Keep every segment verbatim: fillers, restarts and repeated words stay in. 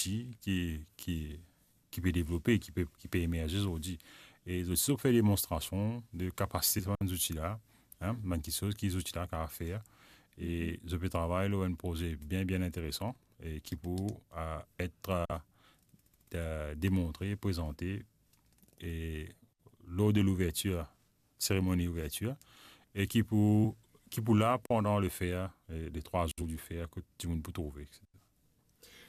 zouti ki, ki, ki pe devlope, ki pe, ki pe emerze zordi. E zot ti fer demonstrasion de kapasite sa bann zouti la, hein, bann kiksoz ki zouti la kapav fer. E zot pe travay lor enn proze bien, bien interesan e ki pou, euh, et, euh, euh, demontre, prezante e lor de louvertir, seremoni louvertir, e ki pou, ki pou la pandan le fer, e le trwa zour di fer, kot dimoun pou trouve, et cetera.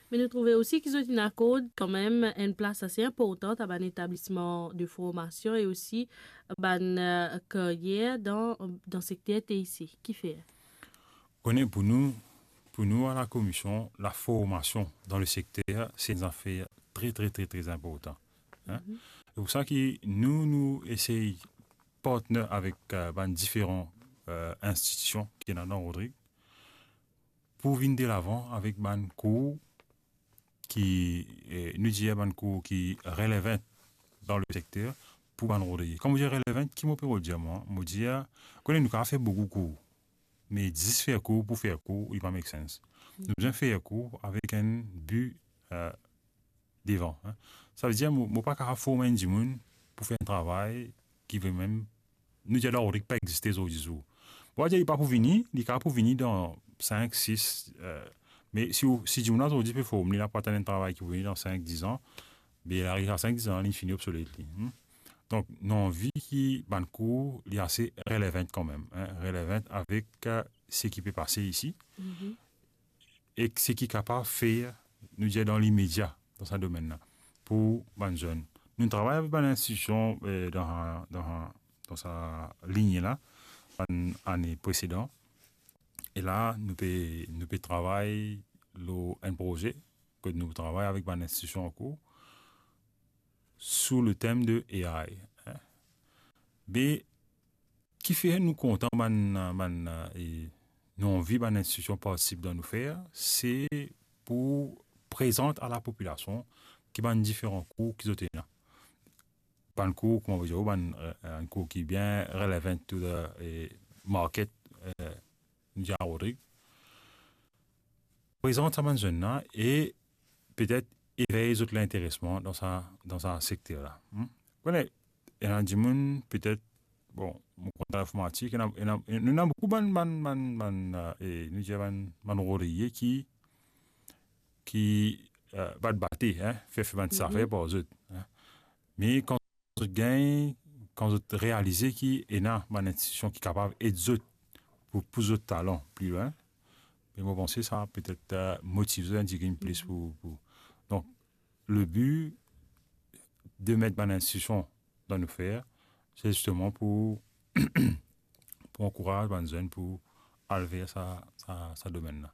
Me nou trouve osi ki zot inn akord kanmem enn plas ase inportan a bann etablisman de formasion e osi bann, euh, karyer dan, dan sekter T I C. Kifer? Kone pou nou, pou nou a la komision, la formasion dan le sekter, se enn zafer tre, tre, tre, tre inportan. Hein? Mhm. Se pou sa ki nou, nou esey partner avek, euh, bann diferan, euh, institision ki ena dan Rodrig pou vinn delavan avek bann kour ki, eh, nou dir bann kour ki relevant dan le sekter pou bann Rodriye. Kan mo dir relevant, ki mo pe dir mwa? Mo dir, kone nou kapav fer boukou kour, me zis fer kour pou fer kour, li pa make sense. Nou bizin fer kour avek enn bi, euh, devan, hein. Savedir, mo, mo pa kapav form enn dimoun pou fer enn travay ki vremem, nou dir, la Rodrig pa existe zordi zour. Mo pa dir li pa pou vini, li kapav pou vini dan sink, sis, euh, me si ou, si dimoun la zordi pe form, li la pou atann enn travay ki pou vini dan sink, diz an, be li ariv a sink, diz an, li fini obsolet li, hmm. Donk, nou anvi ki bann kour, li ase relevant kanmem, hein, relevant avek, euh, seki pe pase isi. Mhm. E seki kapav fer, nou dir, dan limedia, dan sa domenn la, pou bann zenn. Nou travay avek bann institision, eh, dan, dan, dan sa ligne la, bann ane presedan. E la, nou pe, nou pe travay lor enn proze, kot nou travay avek bann institision ankor, sou le tem de A I, hein. Be, kifer nou kontan bann, bann, e nou anvi bann institision partisip dan nou fer, se pou prezant a lapopilasion ki bann diferan kour ki zot ena. Bann kour, kouma nou dir, bann, eh, enn kour ki bien relevant to the, eh, market, eh, nou dir a Rodrig. Prezant sa bann zenn la e petet evey zot linteresman dan sa, dan sa sekter la. Hmm? Kone, ena dimoun, petet, bon, mo konn dan linformatik, ena, ena, nou ena boukou bann, bann, bann, bann, eh, e nou dir bann, bann Rodriye ki, ki, eh, bat bate, hein, fer, fer bann ti zafer par zot, hein. Me kan zot gagn, kan zot realize ki ena bann institision ki kapav ed zot pou, pou zot talan pli lwin, me mo panse sa petet, eh, motiv zot enn tigit plis pou, pou. Donk, le bi de met bann institision dan nou fer, se zisteman pou, pou ankouraz bann zenn pou al ver sa, sa, sa domenn la.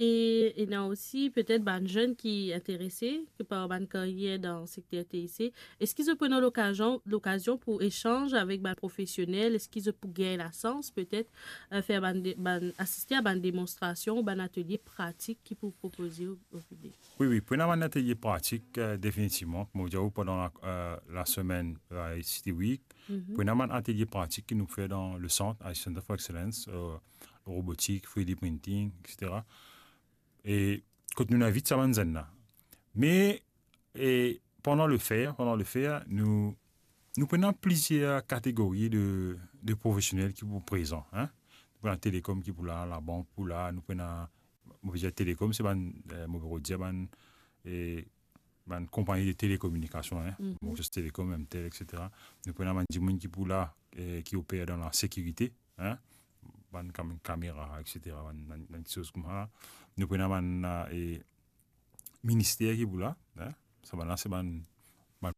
E ena osi petet bann zenn ki interese par bann karyer dan sekter T I C. Eski zot pou ena lokazion, lokazion pou esanz avek bann profesionel? Eski zot pou gagn lasans petet, eh, fer bann de-, bann, asiste a bann demonstrasion ou bann atelie pratik ki pou propoze o, o piblik? Wi, wi, pou ena bann atelie pratik, eh, definitivman. Kouma mo dir ou, pandan la, eh, la semenn, eh, City Week, mhm, pou ena bann atelie pratik ki nou fer dan le sant, Haitian Center for Excellence, eh, robotik, three D printing, et cetera. E kot nou invit sa bann zenn la. Me, e pandan le fer, pandan le fer, nou, nou pou ena plizier kategori de, de profesionel ki pou prezan, hein. Nou pou ena telekom ki pou la, labank pou la, nou pou ena, mo pe dir telekom, se bann, eh, mo pe dir bann, eh, bann konpagni de telekominikasion, hein. Mhm. Bon, Telecom, M T L, et cetera. Nou pou ena bann dimoun ki pou la, eh, ki oper dan lasekirite, hein. Bann kam-, kamera, et cetera. Bann, bann, bann kiksoz koumsa la. Nou pou ena bann, eh, minister ki pou la, hein. Sa bann la, se bann, bann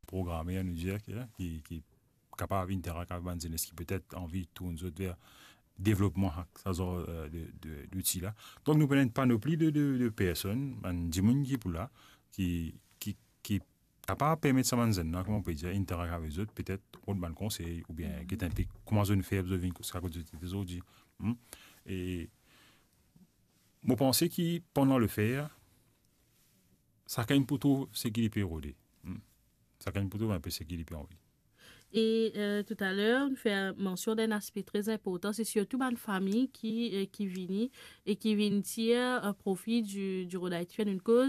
programer, nou dir, ki, ki, ki kapav interak avek bann zenes ki petet anvi tourn zot ver devlopman sa, sa zar, eh, de, de, zouti la. Donk, nou pou ena enn panopli de, de, de personn, bann dimoun ki pou la, ki, ki, ki kapav permet sa bann zenn la, kouma nou pe dir, interak avek zot, petet rod bann konsey, oubien, mhm, get enpe kouma zot inn fer, zot vinn kouma zot ete zordi. Hmm? E mo panse ki pandan le fer, sakenn pou trouv seki li pe rode. Hmm. Sakenn pou trouv enpe seki li pe anvi. E, eh, toutaler, nou fer mansion dan enn aspe tre inportan, se sirtou bann fami ki, eh, ki vini e ki vinn tir, eh, profi di, di Rhode Haiti Fair, nou koz